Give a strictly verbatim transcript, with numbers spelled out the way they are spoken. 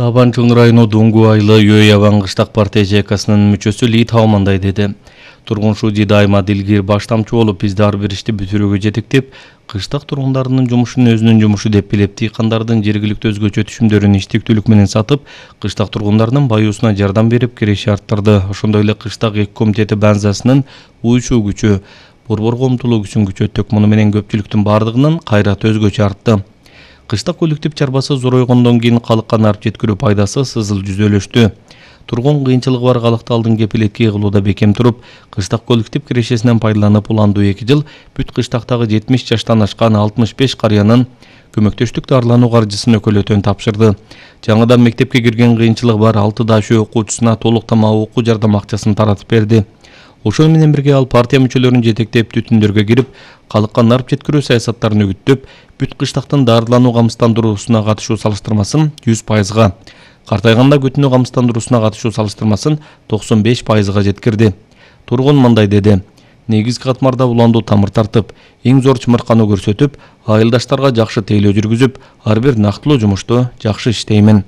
Табан Чоң району Дуңгу айылы Өй-Ябан кыштак партия ЖКсынын мүчөсү Ли Таумандай деди. Тургуншу Дайыма Дилгир баштамчы болуп, бизди ар бир ишти бүтүрүүгө жетектеп, кыштак тургундарынын жумушун өзүнүн жумушу деп билип, дыйкандардын жергиликтүү өзгөчө түшүмдөрүн иштиктүүлүк менен сатып, кыштак тургундарынын баюусуна жардам берип, киреши арттырды. Ошондой эле кыштак эки комитети базасынын уюшуу күчү, борборго умтулуу күчүн күчөттүк. Муну менен көпчүлүктүн бардыгынын кайраты өзгөчө артты. Кыштак коллектив чарбасы зоройгондон кийин калыкка нарп жеткирүү пайдасы сызыл жүзөлөштү. Тургун кыйынчылыгы бар калыкты алдын кепилетке кылууда бекем туруп, кыштак коллектив кирешесинен пайдаланып, уландуу эки жыл бүт кыштактагы жетимиш жаштан ашкан алтымыш беш карыянын көмөктөштүк дарылануу каржысын өкөлөтөн тапшырды. Жаңыдан мектепке кирген кыйынчылыгы бар алты дашөө окуучусуна толук тамак окуу жардам акчасын таратып берди. Ошол менен бирге ал партия мүчөлөрүн жетектеп, түтүндөргө кирип, калыкка нарп жеткирүү саясаттарын үгүттөп, бүт кыштактын дарылануу камсыздандыруусуна катышуу салыштырмасын жүз пайызга, картайганда күтүнүү камсыздандыруусуна катышуу салыштырмасын токсон беш пайызга жеткирди. Тургун мындай деди: негизги катмарда уландуу тамыр тартып, эң зор чымыркануу көрсөтүп, айылдаштарга жакшы тейлөө жүргүзүп, ар бир нактылуу жумушту жакшы иштеймин.